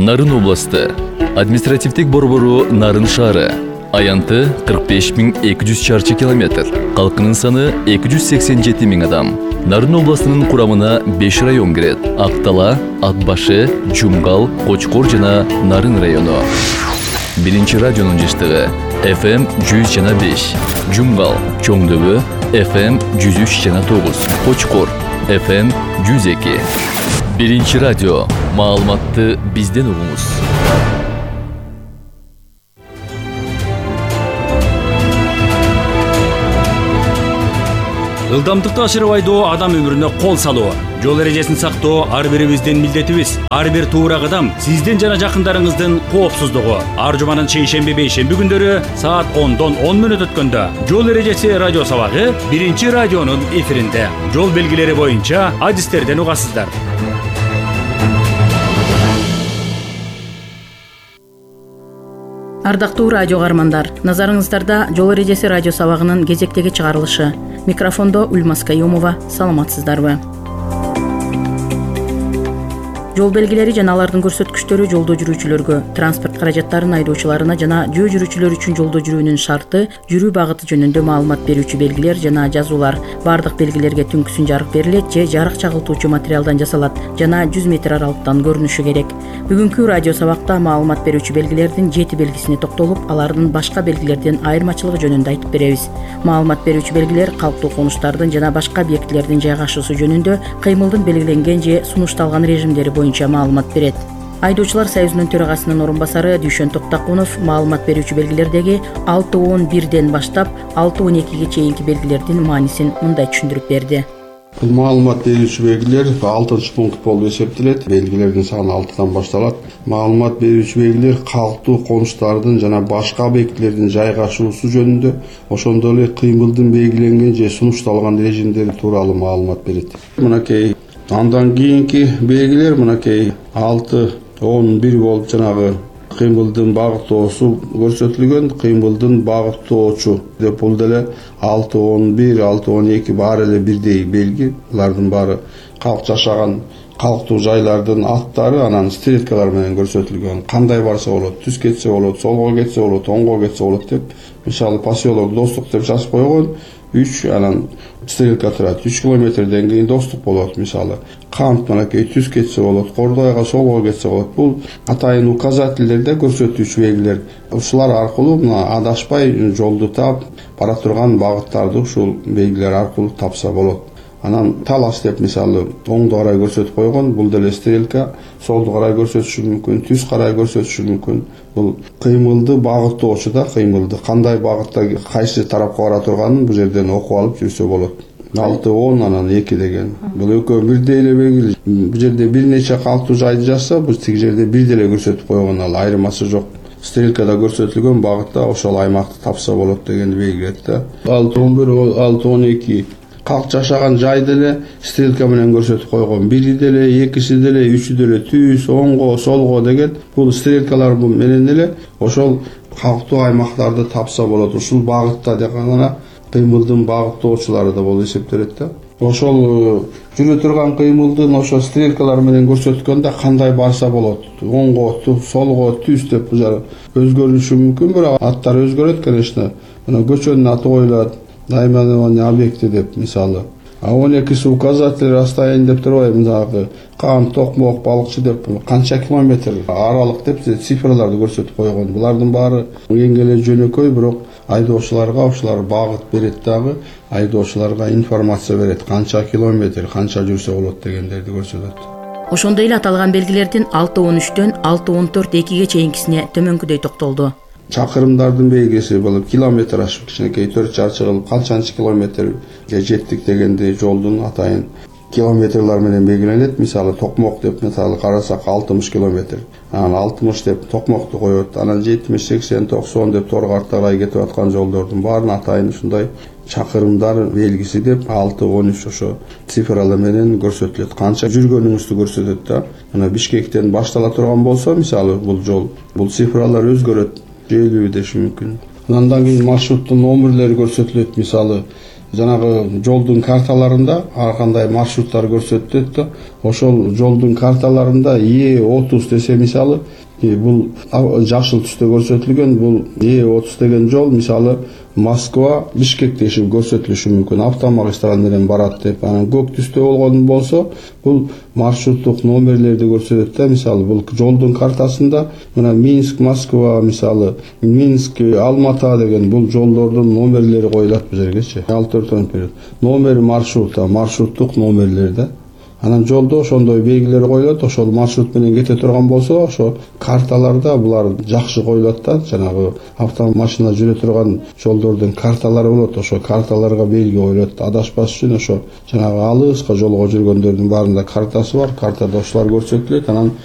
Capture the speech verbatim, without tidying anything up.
Нарын областы. Административдик борбору Нарын шаары. Аянты кырк беш миң эки жүз чарчы километр. Калкынын саны эки жүз сексен жети миң адам. Нарын областынын курамына беш район кирет. Актала, Атбашы, Жумгал, Кочкор жана Нарын району. Биринчи радионун жыштыгы эф эм жүз жана беш. Жумгал, Чоңдөбө эф эм жүз үч жана тогуз. Кочкор эф эм жүз эки. Биринчи радио. Маалыматты бизден угуңуз. Ылдамдыкты ашырып айдоо адам өмүрүнө кол салуу. Жол эрежесин сактоо ар бирибиздин милдетибиз. Ар бир туура кадам сиздин жана жакындарыңыздын коопсуздугу. Ар жуманын шейшемби бейшемби күндөрү саат ондон он мүнөт өткөндө жол эрежеси радио сабагы биринчи радионун эфиринде. Жол белгилери боюнча адистерден угасыздар. Ардактуу радио каармандар, назарыңыздарда жол эрежеси радио сабагынын кезектеги чыгарылышы. Микрофондо Ульмас Каюмова. Саламатсыздарбы? Жол белгилери жана алардын көрсөткүчтөрү жолдо жүрүүчүлөргө, транспорт каражаттарын айдоочуларына жана жөө жүрүүчүлөр үчүн жолдо жүрүүнүн шарты, жүрүү багыты жөнүндө маалымат берүүчү белгилер жана жазуулар. Бардык белгилерге түнкүсүн жарык берилет же жарык чагылтуучу материалдан жасалат жана жүз метр аралыктан көрүнүшү керек. Бүгүнкү радио сабакта маалымат берүүчү белгилердин жети белгисине токтолуп, алардын башка белгилерден айырмачылыгы жөнүндө айтып беребиз. Маалымат берүүчү белгилер калктуу конуштардын жана башка объектилердин жайгашуусу жөнүндө кыймылдын белгиленген же сунушталган режимдери боюнча маалымат берет. Айдоочулар союзунун төрагасынын орун басары Дүйшөн Токтакунов маалымат берүүчү белгилердеги алты он бирден баштап алты он экиге чейинки белгилердин маанисин мындай түшүндүрүп берди. Бул маалымат берүүчү белгилер алтынчы пункт болуп эсептелет. Белгилердин саны алтыдан башталат. Маалымат берүүчү белгилер калктуу конуштардын жана башка объектилердин жайгашуусу жөнүндө, ошондой эле кыймылдын белгиленген же сунушталган режимдери тууралуу маалымат берет. Мынакей андан кийинки белгилер мынакей алты он бир болуп жанагы кыймылдын багыттоосу көрсөтүлгөн. Кыймылдын багыттоочу деп бул деле алты он бир алты он эки баары эле бирдей белги. Булардын баары калк жашаган калктуу жайлардын аттары, анан стрелкалар менен көрсөтүлгөн. Кандай барса болот, түз кетсе болот, солго кетсе болот, оңго кетсе болот деп. Мисалы поселок Достук деп жазып койгон. үч анан стрелка турат. үч километрден кийин Достук болот мисалы. Камп мынакей түз кетсе болот, Кордойго солго кетсе болот. Бул атайын указательдерде көрсөтүүчү белгилер. Ушулар аркылуу мына адашпай жолду таап, бара турган багыттарды ушул белгилер аркылуу тапса болот. Анан талас деп мисалы оңду карай көрсөтүп койгон. Бул деле стрелка, солду карай көрсөтүшү мүмкүн, түз карай көрсөтүшү мүмкүн. Бул кыймылды багыттоочу да кыймылды кандай багытта кайсы тарапка бара турганын бул жерден окуп алып жүрсө болот. алты он анан эки деген. Бул экөө бирдей эле белгиле. Бул жерде бир нече калктуу жайды жазса, бул тиги жерде бир деле көрсөтүп койгон, ал айырмасы жок. Стрелкада көрсөтүлгөн багытта ошол аймакты тапса болот дегенди белгилейт да. алты он бир алты он эки калк жашаган жайды эле стрелка менен көрсөтүп койгон. Бири деле, экиси деле, үчү деле түз, оңго, солго деген бул стрелкалар менен эле ошол калктуу аймактарды тапса болот. Ушул багытта деген гана кыймылдын багыттоочулары да болуп эсептелет да. Ошол жүрө турган кыймылдын ошо стрелкалар менен көрсөткөндө кандай барса болот. Оңго, солго, түз деп өзгөрүшү мүмкүн, бирок аттар өзгөрөт, конечно. Мына көчөнүн аты коюлат. Наименование объекти деп мисалы. А он экиси указатель расстояние деп турбайбы, мындагы Кам, Токмок, Балыкчы деп канча километр аралык деп цифрларды көрсөтүп койгон. Булардын баары эң эле жөнөкөй, бирок айдоочуларга ушулар багыт берет дагы, айдоочуларга информация берет, канча километр, канча жүрсө болот дегендерди көрсөтөт. Ошондой эле аталган белгилердин алты он үчтөн алты он төрт экиге чейинкисине төмөнкүдөй токтолду. Чакырымдардын белгиси болуп километр ашып кичинекей төрт чарчы кылып канчанчы километрге жеттик дегенди жолдун атайын километрлар менен белгиленет. Мисалы Токмок деп мисалы карасак алтымыш километр. Анан алтымыш деп Токмокту коет. Анан жетимиш сексен токсон деп Торгарт карай кетип аткан жолдордун баарын атайын ушундай чакырымдар белгиси деп алты он үч ошо цифралар менен көрсөтүлөт. Канча жүргөнүңүздү көрсөтөт да. Мына Бишкектен баштала турган болсо мисалы бул жол, бул цифралар өзгөрөт. элүү деши мүмкүн. Андан кийин маршруттун номерлери көрсөтүлөт. Мисалы жанагы жолдун карталарында ар кандай маршруттар көрсөтүлөт да, ошол жолдун карталарында Е отуз десе мисалы, бул жашыл түстө көрсөтүлгөн, бул Е отуз деген жол мисалы Москва Бишкек дешип көрсөтүлүшү мүмкүн, автомагистраль менен барат деп. Анан көк түстө болгон болсо, бул маршруттук номерлерди көрсөтөт да, мисалы бул жолдун картасында мына Минск Москва мисалы, Минск Алмата деген бул жолдордун номерлери коюлат бул жергечи. алты төрт берет. Номер маршрута, маршруттук номерлер да. Анан жолдо ошондой белгилер коюлат, ошол маршрут менен кете турган болсо, ошо карталарда булар жакшы коюлат да, жанагы автомашина жүрө турган жолдордун карталары болот, ошо карталарга белги коюлат. Адашпаш үчүн ошо жанагы алыска жолго жүргөндөрдүн баарында картасы бар, картада ошолор көрсөтүлөт. Анан